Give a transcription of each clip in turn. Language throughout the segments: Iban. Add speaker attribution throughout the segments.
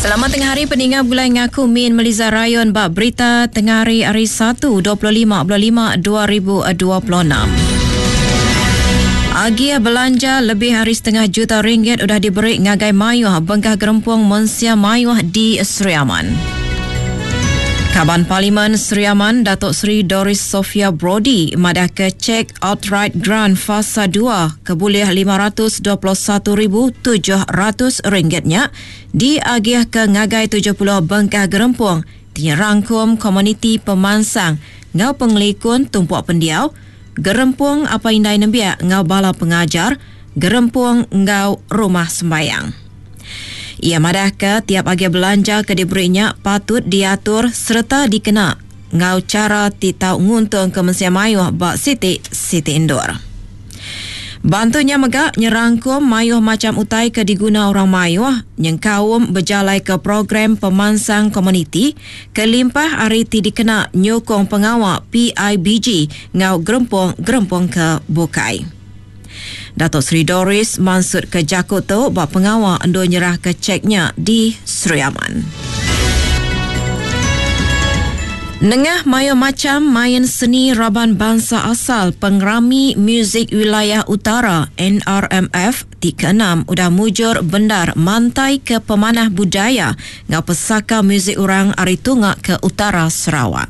Speaker 1: Selamat tengah hari peninga begulai ngaku Min Meliza Rayon ba berita tengah hari hari 1 25 bulan 5 2026. Agih belanja lebih hari setengah juta ringgit udah diberi ngagai mayuh bengkah gerempung mensia mayuh di Sri Aman. Kaban Parlimen Sri Aman Datuk Seri Doris Sophia Brodie madahka cek outright grant fasa 2 ke bulih RM521,700 nya diagihka ngagai 70 bengkah gerempung ti nyerangkum komuniti pemansang enggau pengelikun tumpuk pendiau, gerempung apai indai nembiak enggau bala pengajar, gerempung enggau rumah sembayang. Iya madahka tiap agih belanja ke diberi nya patut diatur sereta dikena enggau chara ti tau nguntungka mensia mayuh ba siti-siti endur. Bantu nya mega nyerangkum mayuh macham utai ke diguna orang mayuh nyengkaum bejalaika program pemansang komuniti kelimpah ari ti dikena nyukung pengawa PIBG enggau gerempung-gerempung ke bukai. Dato Sri Doris mansutka jaku tu ba pengawa endur nyerahka chek nya di Sri Aman. Nengah mayuh macham main seni raban bansa asal Pengerami Muzik Wilayah Utara, NRMF, ti keenam udah mujur bendar mantaika pemanah budaya enggau pesaka muzik orang ari tunga ke utara Sarawak.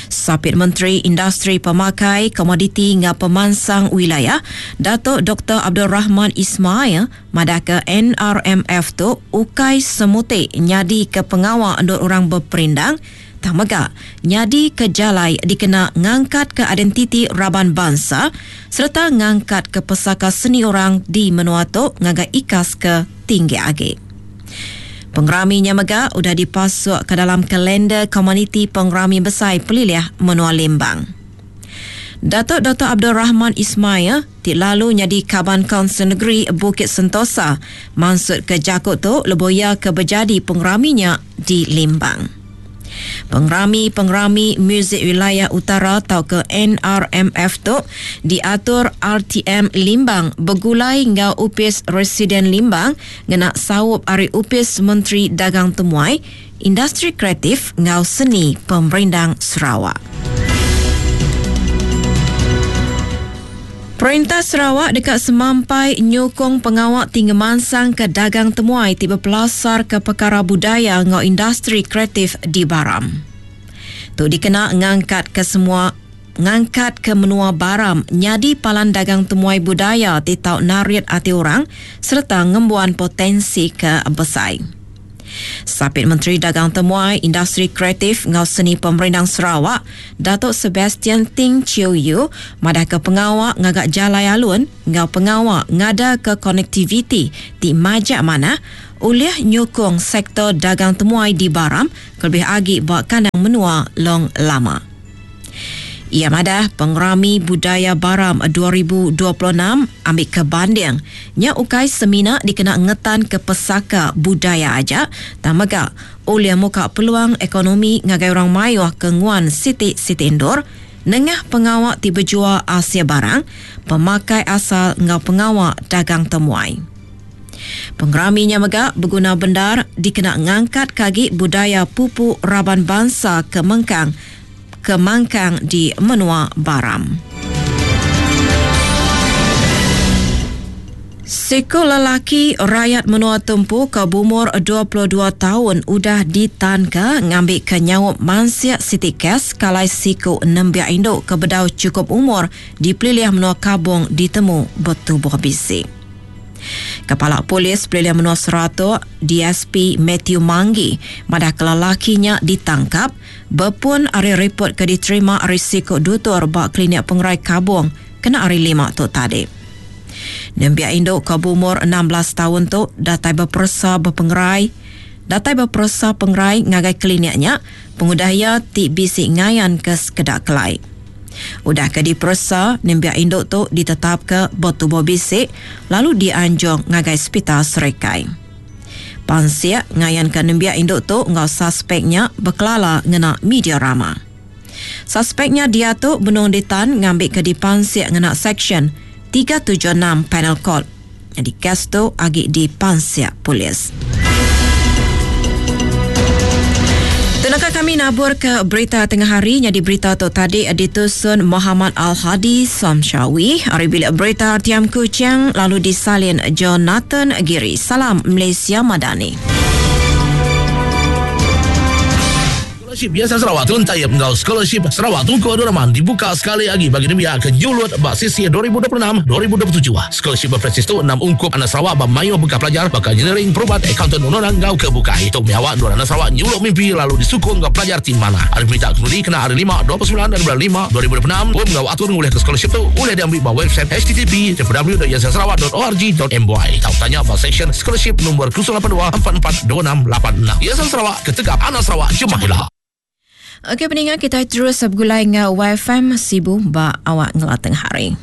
Speaker 1: Sapit Menteri Industri Pemakai, Komoditi enggau Pemansang Wilayah, Datuk Doktor Abdul Rahman Ismail madahka NRMF tu ukai semuti nyadika pengawa endur orang beperindang tang mega nyadika jalai dikena ngangkatka identiti raban bansa sereta ngangkatka pesaka seni orang di menua tu ngagai ikas ke tinggi agi. Pengerami nya mega udah dipasuk ke dalam kalender komuniti pengerami besai pelilih menua Limbang. Datuk Doktor Abdul Rahman Ismail ti lalu nyadi Kaban Kaunsil Negeri Bukit Sentosa mansutka jaku tu lebuh iya ke bejadi pengerami nya di Limbang. Pengerami-pengerami Muzik Wilayah Utara tauka NRMF tu diatur RTM Limbang begulai enggau Opis Residen Limbang ngena saup ari Opis Menteri Dagang Temuai, Industri Kreatif enggau Seni Pemerindang Sarawak. Perintah Sarawak deka semampai nyukung pengawa ti ngemansangka dagang temuai ti bepelasarka pekara budaya enggau industri kreatif di Baram. Tu dikena ngangkatka semua ngangkatka menua Baram nyadi palan dagang temuai budaya ti tau narit ati orang sereta ngembuan potensi ke besai. Sapit Menteri Dagang Temuai, Industri Kreatif enggau Seni Pemerindang Sarawak, Datuk Sebastian Ting Chiew Yew madahka pengawa ngaga jalai alun enggau pengawa ngadaka konektiviti ti majak manah ulih nyukung sektor dagang temuai di Baram kelebih agi ba kandang menua Long Lama. Iya madah, Pengerami Budaya Baram 2026 ambika banding nya ukai semina dikena ngetanka pesaka budaya aja tang mega ulih muka peluang ekonomi ngagai orang mayuh ke nguan siti-siti endur nengah pengawa ti bejual asil barang, pemakai asal enggau pengawa dagang temuai. Pengerami nya mega beguna bendar dikena ngangkatka agi budaya pupu raban bansa ke mengkang ke mangkang di menua Baram. Siku lelaki rayat menua Tumpu ke beumur 22 taun udah ditanka ngambika nyaup mansik siti kes kalai siku nembiak indu ke bedau chukup umur di pelilih menua Kabong ditemu betubuh bisi. Kepala Polis Pelilih Menua Seratok, DSP Mathew Manggi madahka lelaki nya ditangkap Bepun ari ripot ke diterima ari siku dutur ba Klinik Pengerai Kabong kena Hari Lima tu tadi. Nembiak indu ke beumur 16 taun tu datai beperesa bepengerai datai beperesa pengerai ngagai klinik nya pengudah iya ti bisi ngayanka sekeda kelai. Udah ke diperesa, nembiak indu tu ditetapka betubuh bisi lalu dianjung ngagai Sepital Serikai. Pansik ngayanka nembiak indu tu enggau saspek nya bekelala ngena media rama. Saspek nya diatu benung ditan ngambika dipansik ngena Seksyen 376 Penal Code. Nyadi kes tu agi dipansik polis. Tu naka kami nabur ke berita tengah hari nyadi berita tu tadi ditusun Muhammad Al-Hadi Samshawi ari bilik berita RTM Kuching lalu disalin Jonathan Giri. Salam Malaysia Madani.
Speaker 2: Scholarship Yayasan Sarawak Tun Taib enggau Scholarship Sarawak Tunku Abdul Rahman dibuka sekali agi bagi nembiak ke nyulut ba sesi 2026, 2027. Scholarship bepresis tu enam ungkup anak Sarawak ba mayuh bengkah pelajar baka engineering, perubat, akauntan undang-undang enggau ke bukai. Tu mih awak endur anak Sarawak nyuluk mimpi lalu disukung enggau pelajar ti manah. Ari peminta kepenudi kena hari Lima, 29 ari bulan Lima, 2026, pom enggau atur ngulihka scholarship tu ulih diambi ba website http www.yayasansarawak.org.my tauka tanya ba seksyen scholarship lumur 082 44 26 86. Yayasan Sarawak. Ketegap anak Sarawak jemah ila.
Speaker 1: Okey peninga kitai terus begulai enggau YFM Sibu ba awak ngela tengah hari.